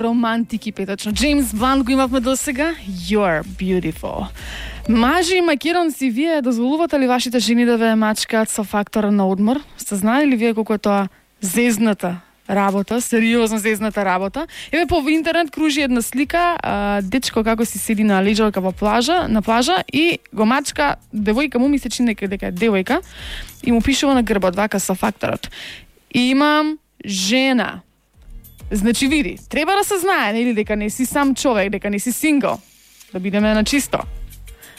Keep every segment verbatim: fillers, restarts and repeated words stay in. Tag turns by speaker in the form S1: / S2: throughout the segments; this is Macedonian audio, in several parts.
S1: романтики петочно. Джеймс Блант го имавме до сега. You're beautiful. Мажи и македонци, вие дозволувате ли вашите жени да ве мачкаат со фактора на одмор? Сте знали ли вие колку е тоа зезната работа, сериозно зезната работа? Еве по интернет кружи една слика, а, дечко како си седи на леđалка во плажа, на плажа и го мачка девојка, му ми се чини дека е девојка и му пишува на грбот вака со факторот. Имам жена. Значи види, треба да се знае, нели, дека не си сам човек, дека не си сингл. Да бидеме на чисто.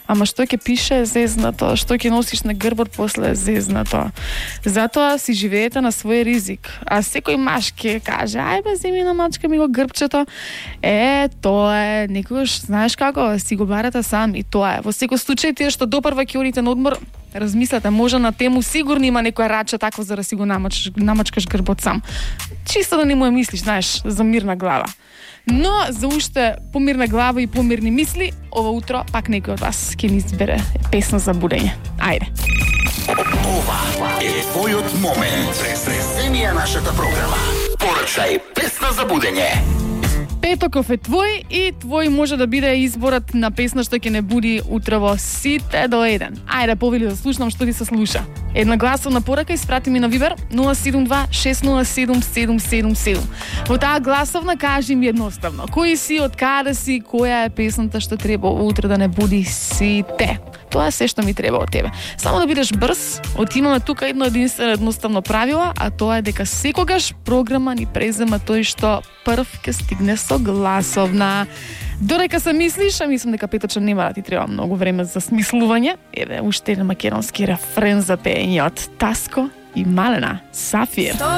S1: Ама што ќе пише зезнато, што ќе носиш на грбот после зезнато. Затоа си живеете на свој ризик. А секој маж ќе каже, ај бе, земи на мачка ми го грбчето. Е, тоа е, некогаш, знаеш како, си го барате сам и тоа е. Во секој случај, тие што допрва ќе одите на одмор, размислете, може на тему сигурно има некоја раче такво за да си го намач, намачкаш грбот сам. Чисто да не му е мислиш, знаеш, за мирна глава. Но за уште помирна глава и помирни мисли, ова утро пак некој од вас ќе ни избере песна за будење. Ајде.
S2: Ова е твојот момент. Преземија нашата програма. Порачај песна за будење.
S1: Петоков е твој и твој може да биде изборот на песна што ќе не буди утрово сите до еден. Ајде, повели да слушнам што ти се слуша. Една гласовна порака испрати ми на Вибер нула седум два шест нула седум седум седум седум. Во таа гласовна кажи ми едноставно, кој си, од каде си, која е песната што треба утре да не буди сите. Тоа е се што ми треба од тебе. Само да бидеш брз, отимаме тука едно единствено едноставно правило, а тоа е дека секогаш програма ни презема тој што прв ќе стигне со гласовна. Додека се мислиш, а мислам дека Петоча нема да ти треба многу време за смислување. Еве уште еден македонски рефрен за пеење од Таско и Малена Сафир.